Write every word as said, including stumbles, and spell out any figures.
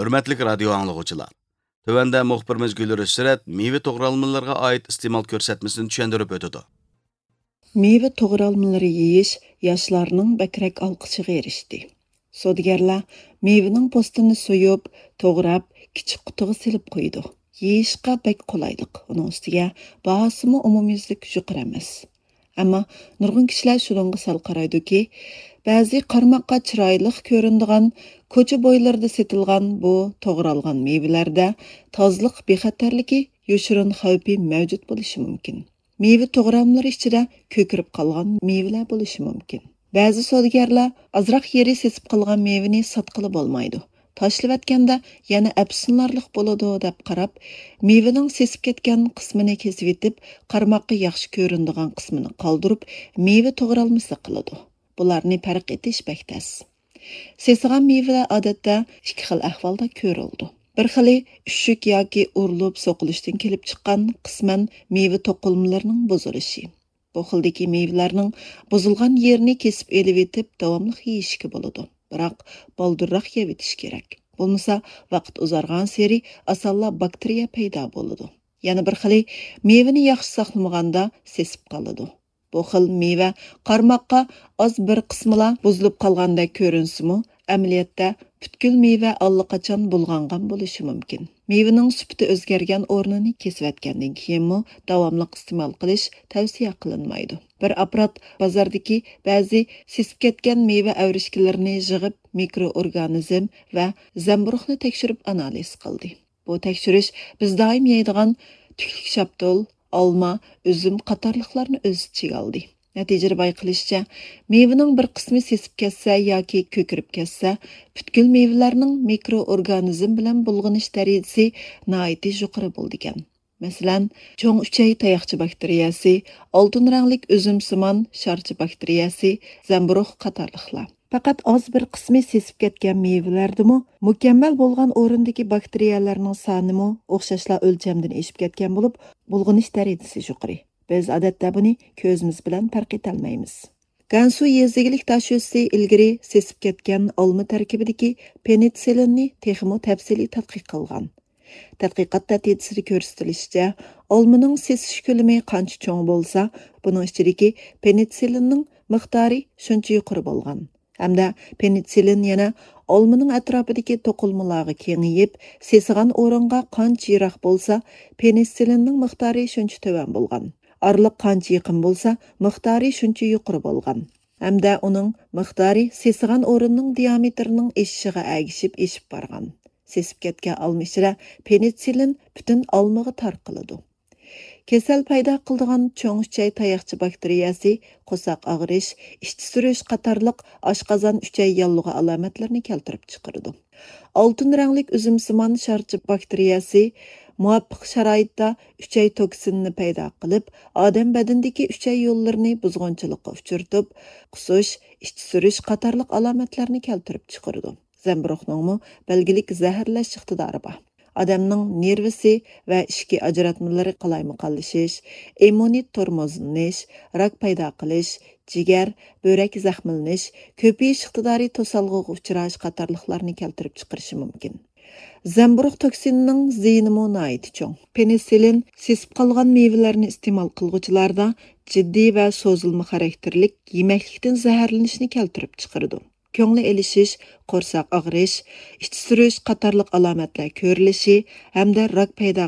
ھۆرمەتلىك رادىيو ئاڭلىغۇچىلار! تۆۋەندە مۇخبىرىمىز گۈلرۈش سۈرەت مېۋە توغرالمىلىرىغا ئائىت ئىستېمال كۆرسەتمىسىنى چۈشەندۈرۈپ ئۆتىدۇ. مېۋە توغرالمىلىرى يېيىش ياشلارنىڭ بەكرەك ئالقىشىغا ئېرىشتى. سودىگەرلەر مېۋىنىڭ پوستىنى سويۇپ، توغراپ، كىچىك قۇتىغا سېلىپ قويىدۇ. يېيىشقا بەك قولايلىق، ئۇنىڭ ئۈستىگە باھاسىمۇ ئومۇميۈزلۈك يۇقىرى ئەمەس. ئەمما نۇرغۇن كىشىلەر شۇنىڭغا سەل قارايدۇكى، بەزى قارىماققا چىرايلىق كۆرۈنىدىغان، كوچا بويلىرىدا سېتىلغان بۇ توغرالغان مېۋىلەردە تازىلىق بىخەتەرلىكى يوشۇرۇن خەۋپى مەۋجۇت بولۇشى مۇمكىن. مېۋە توغراملىرى ئىچىدە كۆكىرىپ قالغان مېۋىلەر بولۇشى مۇمكىن. بەزى سودىگەرلەر ئازراق يېرى سېسىپ قالغان مېۋىنى ساتقىلى بولمايدۇ، تاشلىۋەتكەندە يەنە ئەپسۇنلارلىق بولىدۇ دەپ قاراپ، مېۋىنىڭ سېسىپ كەتكەن قىسمىنى كېسىۋېتىپ، قارىماققا ياخشى كۆرۈنىدىغان قىسمىنى قالدۇرۇپ، مېۋە توغرالمىسى قىلىدۇ. بۇلارنى پەرق ئېتىش بەك تەس. سېسىغان مېۋىلەر ئادەتتە ئىككى خىل ئەھۋالدا كۆرۈلىدۇ. بىر خىلى ئۈششۈك ياكى ئۇرۇلۇپ سوقۇلۇشتىن كېلىپ چىققان قىسمەن مېۋە توقۇلمىلىرىنىڭ بۇزۇلۇشى. بۇ خىلدىكى مېۋىلەرنىڭ بۇزۇلغان يېرىنى كېسىپ ئېلىۋېتىپ، داۋاملىق يېيىشكە بولىدۇ. بىراق، بالدۇرراق يەۋېتىش كېرەك. بولمىسا، ۋاقىت ئۇزارغانسېرى ئاسانلا باكتېرىيە پەيدا بولىدۇ. يەنە بىر خىلى، مېۋىنى ياخشى ساقلىمىغاندا سېسىپ قالىدۇ. بۇ خىل مېۋە قارىماققا ئاز بىر قىسمىلا بۇزۇلۇپ قالغاندەك كۆرۈنسىمۇ، ئەمەلىيەتتە پۈتكۈل مېۋە ئاللىقاچان بۇلغانغان بولۇشى مۇمكىن. مېۋىنىڭ سۈپىتى ئۆزگەرگەن ئورنىنى كېسىۋەتكەندىن كېيىنمۇ داۋاملىق ئىستېمال قىلىش تەۋسىيە قىلىنمايدۇ. بىر ئاپپارات بازاردىكى بەزى سېسىپ كەتكەن مېۋە ئەۋرىشكىلىرىنى يىغىپ، مىكرو ئورگانىزم ۋە زەمبۇرۇغنى تەكشۈرۈپ ئانالىز قىلدى. بۇ تەكشۈرۈش بىز دائىم يەيدىغان تۈكلۈك شاپتۇل، ئالما، ئۈزۈم قاتارلىقلارنى ئۆز ئىچىگە ئالدى. نەتىجىدە بايقىلىشىچە، مېۋىنىڭ بىر قىسمى سېسىپ كەتسە ياكى كۆكىرىپ كەتسە، پۈتكۈل مېۋىلەرنىڭ مىكرو ئورگانىزم بىلەن بۇلغىنىش دەرىجىسى ناھايىتى يۇقىرى بولىدىكەن. مەسىلەن، چوڭ ئۈچەي تاياقچە باكتېرىيەسى، ئالتۇن رەڭلىك ئۈزۈمسىمان شارچە باكتېرىيەسى، زەمبۇرۇغ قاتارلىقلار. پەقەت ئاز بىر قىسمى سېسىپ كەتكەن مېۋىلەردىمۇ مۇكەممەل بولغان ئورۇندىكى باكتېرىيەلەرنىڭ سانىمۇ ئوخشاشلا ئۆلچەمدىن ئېشىپ كەتكەن بولۇپ، بۇلغىنىش دەرىجىسى يۇقىرى. بىز ئادەتتە بۇنى كۆزىمىز بىلەن پەرق ئېتەلمەيمىز. گەنسۇ يېزا ئىگىلىك داشۆسى ئىلگىرى سېسىپ كەتكەن ئالما تەركىبىدىكى پېنىتسىلىننى تېخىمۇ تەپسىلىي تەتقىق قىلغان. تەتقىقات نەتىجىسىدە كۆرسىتىلىشىچە، ئالمىنىڭ سېسىش كۆلىمى قانچە چوڭ بولسا، بۇنىڭ ئىچىدىكى پېنىتسىلىننىڭ مىقدارى شۇنچە يۇقىرى بولغان. ھەمدە پېنىتسىلىن يەنە ئالمىنىڭ ئەتراپىدىكى توقۇلمىلارغا كېڭىيىپ، سېسىغان ئورۇنغا قانچە يىراق بولسا، پېنىتسىلىننىڭ مىقدارى شۇنچە تۆۋەن بولغان. ئارىلىق قانچە يېقىن بولسا، مىقدارى شۇنچە يۇقىرى بولغان. ھەمدە ئۇنىڭ مىقدارى سېسىغان ئورۇننىڭ دىيامېتىرىنىڭ ئېشىشىغا ئەگىشىپ ئېشىپ بارغان. سېسىپ كەتكەن ئالما ئىچىدە پېنىتسىلىن پۈتۈن ئالمىغا تارقىلىدۇ. كېسەل پەيدا قىلىدىغان چوڭ ئۈچەي تاياقچە باكتېرىيەسى، قورساق ئاغرىش، ئىچ سۈرۈش قاتارلىق ئاشقازان، ئۈچەي ياللۇغى ئالامەتلىرىنى كەلتۈرۈپ چىقىرىدۇ. ئالتۇن رەڭلىك ئۈزۈمسىمان شارچە باكتېرىيەسى مۇۋاپىق شارائىتتا ئۈچەي توكسىنىنى پەيدا قىلىپ، ئادەم بەدىنىدىكى ئۈچەي يوللىرىنى بۇزغۇنچىلىققا ئۇچرىتىپ، قۇسۇش، ئىچ سۈرۈش قاتارلىق ئالامەتلەرنى كەلتۈرۈپ چىقىرىدۇ. زەمبۇرۇغنىڭمۇ بەلگىلىك زەھەرلەش ئىقتىدارى بار. ئادەمنىڭ نېرۋىسى ۋە ئىچكى ئاجراتمىلىرى قالايمىقانلىشىش، ئىممۇنىتېت تومۇرلىنىش، راك پەيدا قىلىش، جىگەر، بۆرەك زەخىملىنىش، كۆپىيىش ئىقتىدارى توسالغۇغا ئۇچراش قاتارلىقلارنى كەلتۈرۈپ چىقىرىشى مۇمكىن. زەمبۇرۇغ توكسىنىنىڭ زىيىنىمۇ ناھايىتى چوڭ. پېنىسىلىن سېسىپ قالغان مېۋىلەرنى ئىستېمال قىلغۇچىلاردا جىددىي ۋە سوزۇلما خاراكتېرلىك يېمەكلىكتىن زەھەرلىنىشنى كەلتۈرۈپ چىقىرىدۇ. كۆڭلى ئېلىشىش، قورساق ئاغرىش، ئىچ سۈرۈش قاتارلىق ئالامەتلەر كۆرۈلۈشى ھەمدە راك پەيدا